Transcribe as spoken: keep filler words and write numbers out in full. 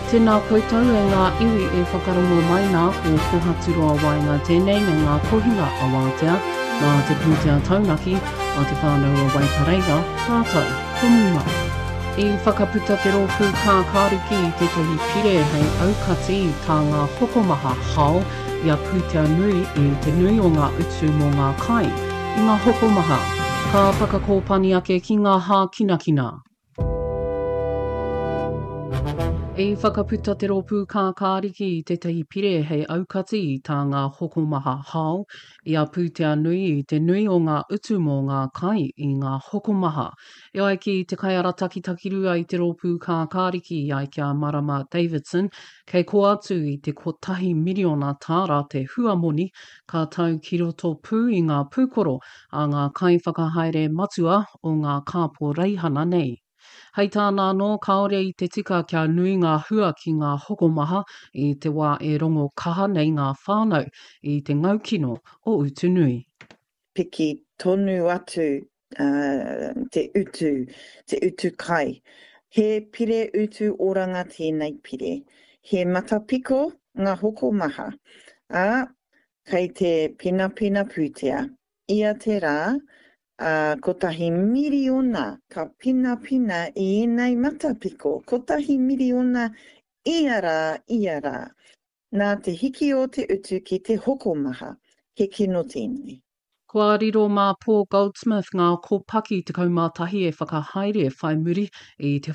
Tēnā koutou e ngā iwi e whakarongo mai nā, ko Kohaturoa Waenga tēnei me ngā kohinga awātea nā te pūtea taunaki a Te Whānau o Waipareira, rātou ko Muma. I whakaputa te rōpū Kākāriki i tētahi pire hei aukati i tā ngā hokomaha hao i a pūtea nui i te nui o ngā utu mō ngā kai i ngā hokomaha. Ka whakakōpani ake ki ngā hākinakina. I whakaputa te rōpū Kākāriki i tētahi pire hei aukati i tā ngā hokomaha hao i a pūtea nui i te nui o ngā utu mō ngā kai i ngā hokomaha. E ai ki te kaiarataki takirua i te rōpū Kākāriki i ai ki a Marama Davidson, kei kō atu i te kotahi miriona tāra te huamoni ka tau ki roto pū i ngā pūkoro a ngā kaiwhakahaere matua o ngā kāporeihana nei. Hei tāna anō, kāore i te tika kia nui ngā hua ki ngā hokomaha i te wā e rongo kaha nei ngā whānau i te ngaukino o utu nui. Piki tonu atu uh, te utu, te utu kai. He pire utu oranga tēnei pire. He matapiko ngā hokomaha. Ā, kei te penapena pūtea. Ia te rā, uh, kotahi miriona ka pinapina i ēnei matapiko. Kotahi miriona ia rā, ia rā. Nā te hiki o te utu ki te hokomaha, he kino tēnei. Kua riro mā Paul Goldsmith ngā kōpaki tekau mā tahi e whakahaere whai muri i te